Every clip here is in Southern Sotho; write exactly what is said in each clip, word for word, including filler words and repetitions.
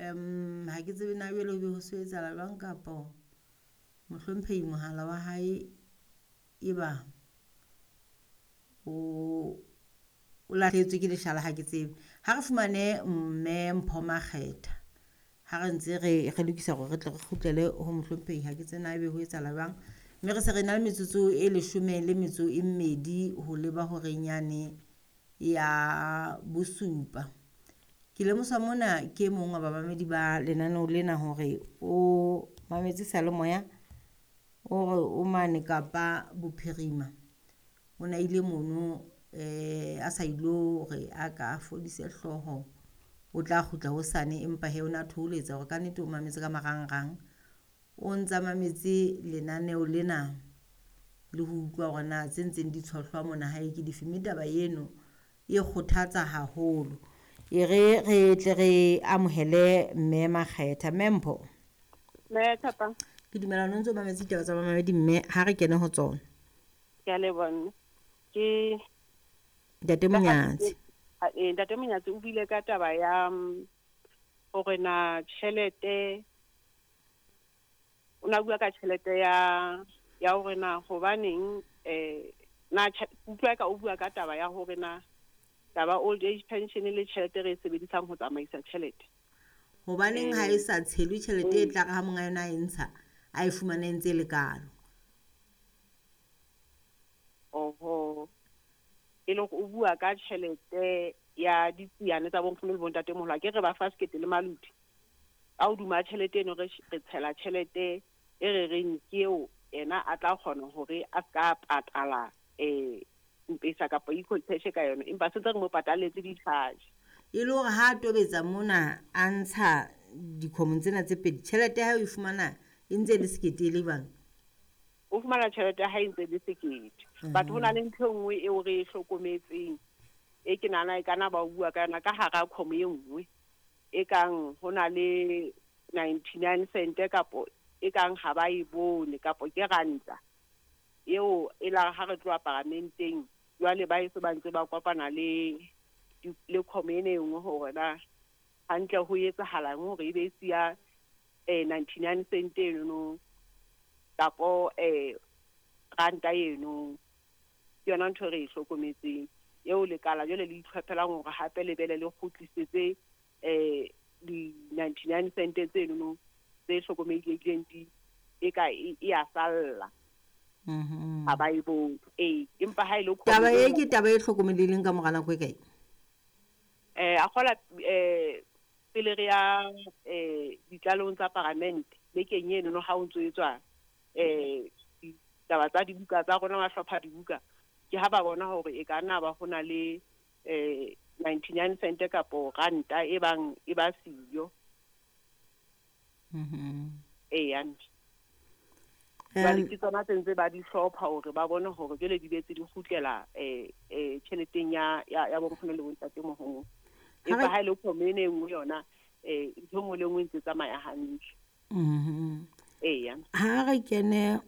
Um ha ke tsebe na jwale ho be ho se ho etsahala jwang kapo mohlomphehi mohala wa hae e ba o o lahlehetswe ke leshala ha ke tsebe. Ha re fumane mme Mpho Makgetha ha re ntse re re lokisa hore re tle re kgutlele ho mohlomphehi ha ke tsebe na ebe ho etsahala jwang. Mme re se re na le metsotso e leshome le metso e mmedi ho leba horeng yane ya bosupa. Ke lemoswa mona ke e mong wa bamamedi ba lenaneo lena hore o mametse seyalemoya o re o mane Kapa Bophirima. O na ile mono eh a sa ilo hore a ka fodise hlooho, o tla kgutla hosane empa he o na thoholetsa hore kannete o mametse ka marangrang. O ntsa mametse lenaneo lena le ho utlwa hore na tse ntseng di tshohlwa mona hae ke dife, mme taba eno e kgothatsa haholo. E re re tle re amohele mme Makgetha. Mme Mpho, Mme Thapang, ke dumela o ntso mametse ditaba tsa bamamedi mme ha re kene ho tsona. Ke a leboha mme. Ke Ntate Monyatsi. Eh, Ntate Monyatsi o buile ka taba ya mm, hore na tjhelete, o na bua ka tjhelete ya ya hore na hobaneng eh na tjhe- utlwa ka o bua ka taba ya hore na taba old age pension le tjhelete re e sebedisang ho tsamaisa tjhelete. Hobaneng ha e sa tshelwe tjhelete e tla re ha monga yona a e ntsha a e fumane e ntse e le kalo? Oho. E le hore o bua ka tjhelete ya ditsiane tsa bonkgono le bontatemoholo, a ke re ba fa sekete le malodi. Ka hodima tjhelete eno re sh-, re tshela tjhelete e re reng ke eo yena a tla kgona hore a ska patala eh M-Pesa kapa e-cash ka yona, empa se ntse re mo patalletse di-charge. E le hore ha a tobetsa mona a ntsha dikgomo tsena tse pedi, tjhelete ya hae o e fumana e ntse e le sekete e le jwang? O fumana tjhelete ya hae e ntse e le sekete. But ho na le ntho e nngwe eo re e hlokometseng e ke nahana e kana ba bua ka yona ka hara kgomo e nngwe e kang ho na le ninety-nine cent kapo e kang ha ba e bone kapo ke ranta eo e la ha re tloha paramenteng jwale ba eso ba ntse ba kopana le le kgomo ena e nngwe hore na hantle ho etsahalang hore e be e siya eh ninety-nine cent eno kapo eh ranta eno. Ke yona ntho e re e hlokometseng eo lekala jwale le itlhophelang hore hape le bele le kgutlisetse eh di ninety-nine cent tseno tse hlokomelehileng di e ka e, e a salla. Mhm. Ha ba e bone. Ee, empa ha e le Taba kgomo e e ke taba e hlokomelehileng ka mora nako e kae? Eh, a kgola, eh, pele re ya, eh, ditlalehong tsa paramente bekeng eno no ha o ntso etswa, eh, ditaba tsa dibuka tsa rona, ba hlopha dibuka, ke ha ba bona hore e ka nna ba ho na le, eh, ninety-nine cent kapo ranta e bang e ba siyo. Mhm. Ee, hantle. Em, Jwale ke tsona tse ntse ba di hlopha hore ba bone hore jwale di betse di kgutlela, eh, eh, tjheleteng ya, ya, ya bonkgono le bontatemoholo. Ha re Empa ha e le kgomo ena e nngwe yona, eh, ntho e nngwe le e nngwe e ntse tsamaya hantle. Mhm. Eya. Ha re kene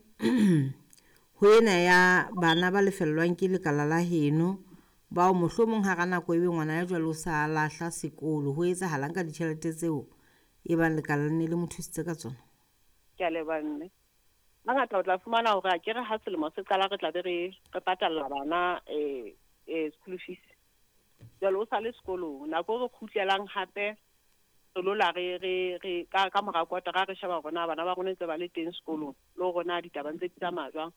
ho ena ya bana ba lefellwang ke lekala la heno, bao mohlomong hara nako ebe ngwana ya jwalo o sa lahla sekolo, ho etsahalang ka ditjhelete tseo e bang lekala le ne le mo thusitse ka tsona? Ke a leboha mme. Hangata o tla fumana hore akere ha selemo se qala re tla be re, re patalla bana, eh, eh, school fees. Jwale o sa le sekolong, nako e re kgutlelang hape re lo la re, re, re, ka, ka mora kotara re sheba hore na bana ba rona ntse ba le teng sekolong, le hore na ditaba ntse di tsamaya jwang.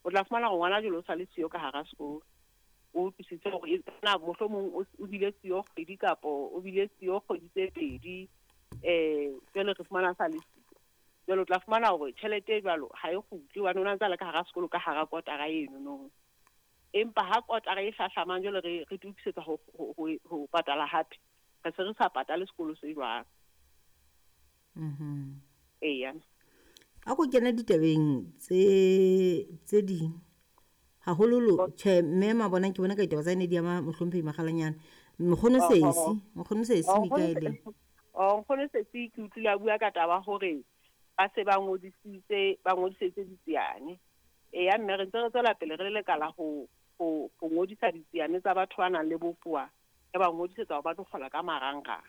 O tla fumana hore ngwana jwale o sa le siyo ka hara sekolo. O utlwisitse hore e na mohlomong o, o bile siyo kgwedi kapo o bile siyo kgwedi tse pedi, eh, jwale re fumana a sa le siyo. Jwale o tla fumana hore tjhelete e jwalo ha e kgutle hobane o na ntse a le ka hara sekolo ka hara kotara eno no. Empa ha kotara e hlahlamang jwale re, re itokisetsa ho, ho, ho, ho patala hape, re se re sa patale sekolo se jwalo. Mhm. Eya. A ko kene ditabeng tse, tse ding. Haholoholo, tjhe, mme Mabona ke bona ka ditaba tsa ne di ama mohlomphehi Makgalanyane. Nkgono Oh, Sesi, oh, oh. nkgono Sesi Oh, Mikaele. nkgono Oh, nkgono Sesi ke utlwile a bua ka taba hore ba se ba ngodisitse, ba ngodisitse ditsiane. Eya, mme re ntse re tswela pele re le lekala ho, ho, ho ngodisa ditsiane tsa batho ba nang le bokowa, re ba ngodisetsa hore ba tlo kgola ka marangrang.